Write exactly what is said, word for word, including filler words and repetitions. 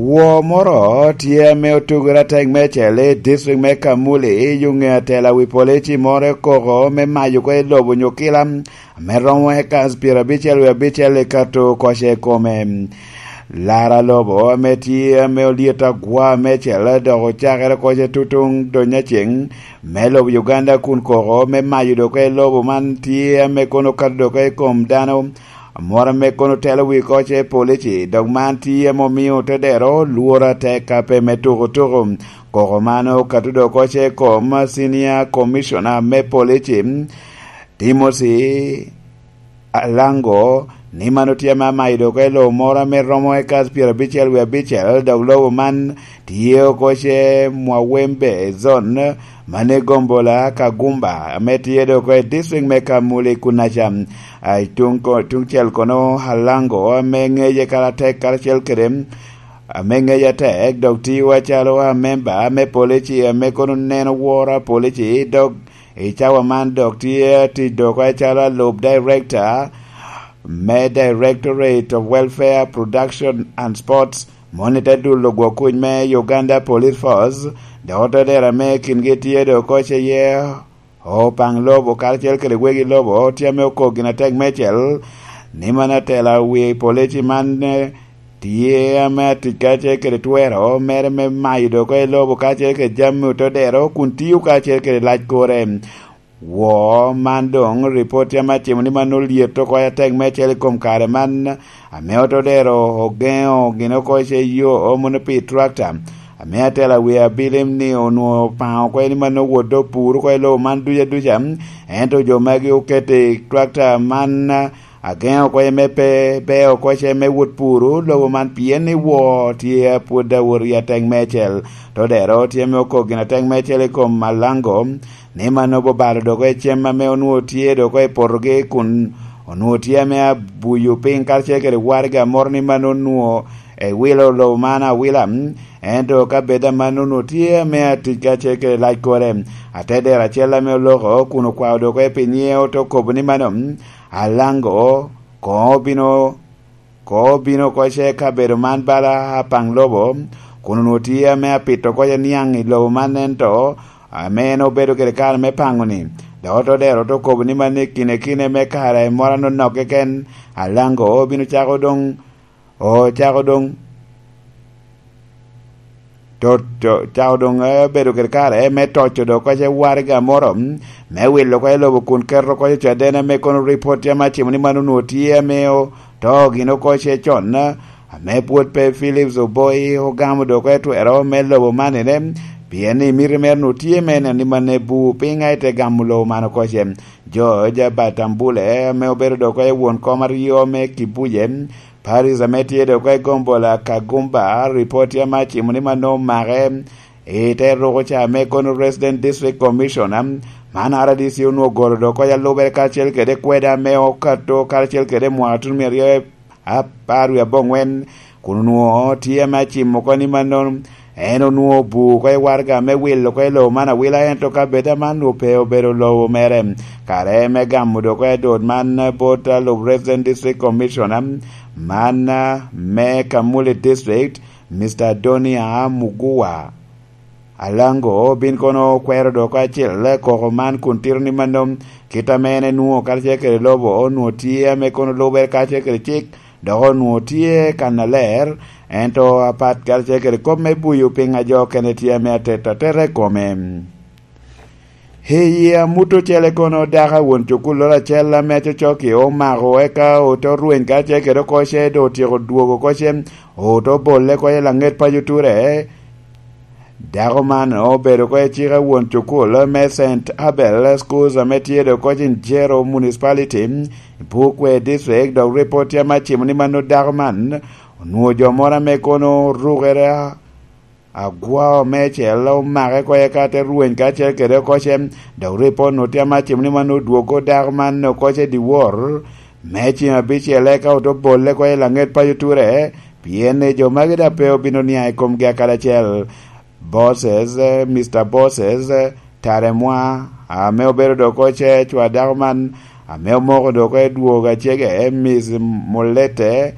Woo moro tye ame otugere atek meicel i district me Kamuli, i yo ŋe atela wi polici moro i koko me mayo oko i lobo onyo kila ame romo ekas pyerabicel wie abicel i kato koce i kome. Lara lobo ame tye ame olyet agwa meicel dok ocakere koce tutuŋ dony aceŋ me lobo Uganda kun koko me mayo dok i lobo man tye ame kono okato dok i kom dano. Amwora me kono telo wi koce polici, dok man tye ame omio te dero lworo atek ape me tuko tuko. Koko man okato dok koce i kom Senior Commissioner me Polici, Timothy Alango, ni man otye ame amayo dok i lobo moro ame romo ekas pyerabicel wie abicel, dok lobo man tye oko ce Mwawembe Zone, mane gombola Kagumba, ame tye dok i district me Kamuli kunaca. A, i tuŋ ko-, tuŋ cel kono Alango, ame ŋeye kara tek karacel kede, ame ŋeye atek, dok tiyo acalo amemba me polici, ame kono neno woro a polici, dok i cawa man dok tye tic dok acalo alub director me Directorate of Welfare, Production and Sports, moni te dulo gwok kuc me Uganda Police Force, dok otodero ame kingi tye dok koce iye opaŋ lobo karacel kede wegi lobo, tye ame okok gin atek meicel, ni man atela wi polici man, eh, tye ame atic karacel kede twero mere me mayo dok i lobo karacel kede jami otodero, kun tiyo karacel kede lac kore. Woo man doŋ ripot tye ame acimo ni man olyet oko atek meicel i kom kare man, ame otodero ogeŋo gin oko ce yo mono pi tractor, ame atela wi abilim ni onwoŋo paŋo oko ni man owot dok pur oko i lobo man duca duca, ento jo magi oketo i tractor man ageŋo oko me pe beo oko ce me wot puru lobo man, pien ni woo tye pwod awot i atek meicel. Todero tye me okok gin atek meicel i kom Alango, ni man obalo dok i cem ame onwoŋo tye dok i potogi, kun onwoŋo tye ame abuyo piny karacel kede waraga moro ni man onwoŋo ewilo lobo man awila, ento ka bed aman onwoŋo tye ame atic karacel kede lac kore. Atedero acel ame oloko kun okwao dok i pinye ote kobo ni mano, Alango, koŋ obino, koŋ obino oko ce kabedo man bala apaŋ lobo, kun onwoŋo tye ame apito oko ce niaŋ i lobo man, ento ame en obedo kede kare me paŋo-ni, dok otodero te okobo ni man i kine kine me kare moro anonok keken, Alango obino cako doŋ, ocako doŋ, to, to, cako doŋ, eh, bedo kede kare me toco dok oko ce waraga moro, mm, me wilo oko i lobo kun keto oko i caden ame kono ripot tye ame acimo ni man onwoŋo tye ame oto gin oko ce con, eh, ame pwod pe Philips Oboi ogamo dok oko i twero me lobo man ene, pien ni miti mere onwoŋo tye me neno ni man ebu piny a ite gamo lobo man oko ce. George Batambule, ame obedo dok oko i won kom aryo me Kibuje, Paris ame tye dok oko i gombola Kagumba, ripot tye ame acimo ni man omake i te ruko ca me kono Resident District Commissioner. Man R D C onwoŋo ogolo dok oko i alubere karacel kede kwede ame okato karacel kede mwaka tutumia aryo apar wie aboŋwen, kun onwoŋo tye ame acimo oko ni mannono, en onwoŋo obu oko i waraga me wilo oko i lobo man awila, ento ka bed aman onwoŋo pe obedo lobo mere. Kare me gamo dok oko i dot man bot alub Resident District Commissioner man me Kamuli District, Mister Donia Mugua. Alango bin kono okwero dok acel koko man kun tito ni mano, kit ame en enwoŋo karacel kede lobo onwoŋo tye ame kono lubere karacel kede cik, dok onwoŋo tye kannaler, ento apat karacel kede kop me buyo piny a jo okene tye ame atet ateta i kome. I yi amut ocele kono dako a won cukulloro acel ame acocok-ki omako, eka ote orweny karacel kede oko ce, dok otyeko dwogo oko ce, ote obolle oko i laŋet paco ture. Dako man obedo oko i cik a won cukul me Saint Abel Schools ame tye dok oko i Njero Municipality, Bukwea District, dok ripot tye ame acimo ni mano dako man onwoŋo jo moro ame kono orukere agwao meicel omake oko eka te rweny karacel kede oko ce, dok ripot onwoŋo tye ame acimo ni mano odwogo dako man oko ce dyewor me ceng abicel, eka ote obolle oko i laŋet paco ture, pien ni jo magi daŋ pe obino niaŋ i komgi akadi acel. Bosses, eh, Mister Bosses, eh, Taremwa, ame obedo dok oko ce cwa dako man, ame omoko dok oko i dwogo acege, eh, Miss Mulete,